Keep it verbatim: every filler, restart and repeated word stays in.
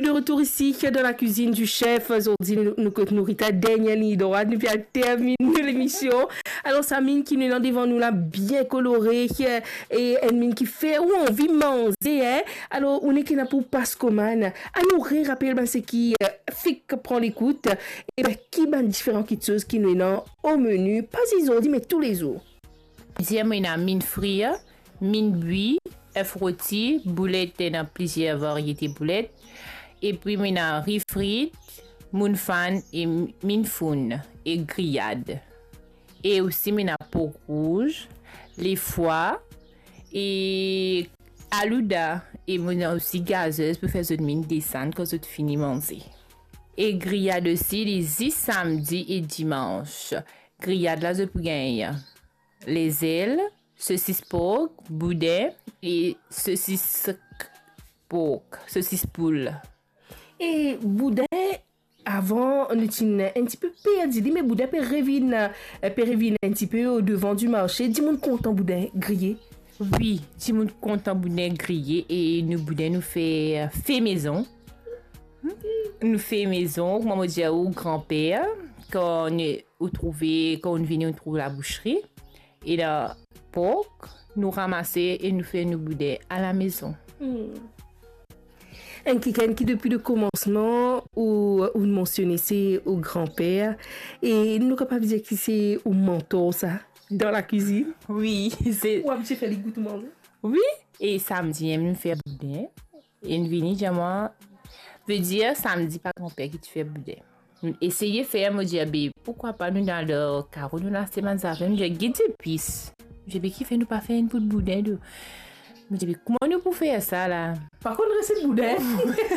De retour isi dan la cuisine du chef. Zordi nou, nou kot nou Rita, dernie lign drwat, nou pe al terminn lemision. Alor, sa minn ki nou ena devan nou la, bien kolore, e enn minn ki fer ou anvi manze, en. Alor, ou nek ena pou pas komann. Anou re rapel bann seki, eh, fek pran lekout, e ben, ki bann diferan kitsoz ki nou ena o meni, pa zis zordi, me toulezour. Dir mo ena minn frir, minn bwi, ef roti, boulet, ena plizier variete boulet, epi mo ena ri frit, moun fann e minn fourn e griyad. E osi mo ena pork rouz, lefwa e alouda, e mo ena osi gazez pou fer zot minn desann kan zot fini manze. E griyad osi, li zis samdi e dimans. Griyad la, zot pou gagn lezel, sosis pork, boudin e sosis pork, sosis poul. E boudin, avan, nou ti enn tipe perdi li, me boudin pe revinn, eh, pe revinn enn tipe o devan di marse. Dimoun kontan boudin griye. Wi, dimoun kontan boudin griye e nou boudin nou fer fe mezon. Nou fer mezon, kouma mo dir ou, granper, kan nou, ou trouve, kan ou vini, ou trouv laboushri, e la pork, nou ramase e nou fer nou boudin alamezon. Hmm. Enn kikenn ki depi le komansman ou, ou mansione se ou granper, e nou kapav dir ki se ou mantor sa, dan la cuisine. Wi, se Ou abitie fer li gout ou manze? Wi, e samdi, em, nou fer boudin. E nou vini dir mwa, vedir samdi pa granper ki ti fer boudin. Nou eseye fer, mo dir, be, poukwa pa nou dan le karo, nou lase bann zafer, nou dir, get zepis. Mo dir, be, kifer nou pa fer enn bout boudin tou? Mo dir, be, kouma nou pou fer sa la? Pa konn reset boudin.